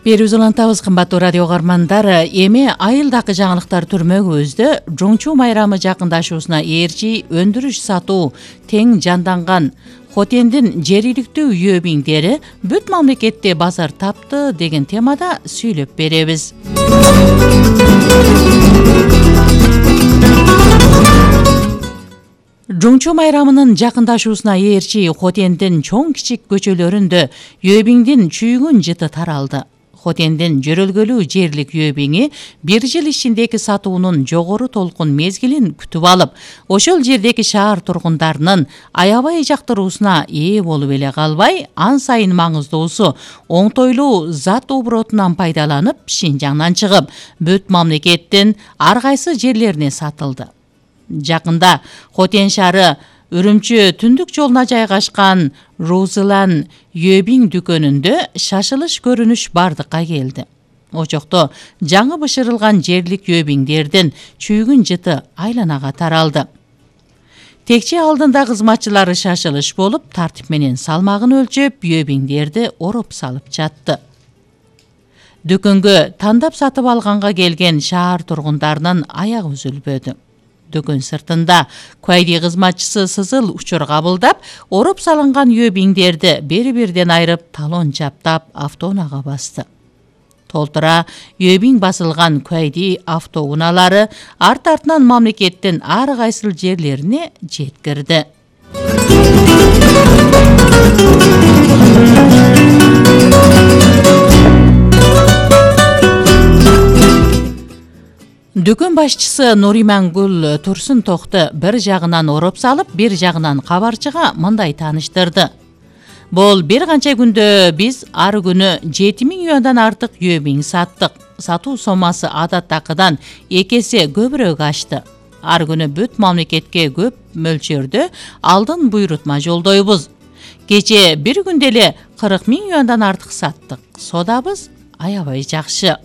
Берүүбүз улантабыз, кымбаттуу радио угармандар. Эми айылдагы жаңылыктар түрмөгүбүздө жоңчу майрамы жакындашуусуна ээрчи өндүрүш сатуу тең жанданган Хотендин жергиликтүү үйөбиңдери бүт мамлекетте базар тапты деген темада сүйлөп беребиз. Жоңчу майрамынын жакындашуусуна ээрчи Хотендин чоң кичик көчөлөрүндө үйөбиңдин чүйгүн жыты таралды. Хотендин жөрөлгөлүү жерлик үйөбиңи бир жыл ичиндеги сатуунун жогору толкун мезгилин күтүп алып, ошол жердеги шаар тургундарынын аябай жактыруусуна ээ болуп эле калбай, ан сайын маңыздуусу оңтойлуу зат оборотунан пайдаланып, Шинжаңдан чыгып, бүт мамлекеттин ар кайсы жерлерине сатылды. Жакында Хотен шаары Үрүмчү түндүк жолуна жайгашкан Розылан үйөбиң дүкөнүндө шашылыш көрүнүш бардыкка келди. Очокто жаңы бышырылган жерлик үйөбиңдердин чүйгүн жыты айланага таралды. Текче алдында кызматчылары шашылыш болуп, тартип менен салмагын өлчөп, үйөбиңдерди ороп салып жатты. Дүкөнгө тандап сатып алганга келген шаар тургундарынын аягы үзүлбөдү. Дүкөн сыртында куайди кызматчысы сызыл учур кабылдап, ороп салынган үйөбиңдерди бири-бирден айырып, талон чаптап, автоунаага басты. Толтура үйөбиң басылган куайди автоунаалары арт-артынан мамлекеттин ар кайсыл жерлерине жеткирди. Дүкөн башчысы Нуримангүл Турсунтокто бир жагынан ороп салып, бир жагынан кабарчыга мындай тааныштырды. Бул бир канча күндө биз ар күнү 7000 юандан артык үйөбиң саттык. Сатуу сомасы адаттакыдан 2 эсе көбүрөөк ашты. Ар күнү бүт мамлекетке көп мөлчөрдө алдын буйрутма жолдойбуз. Кече бир күндө эле 40 000 юандан артык саттык. Содабыз аябай жакшы.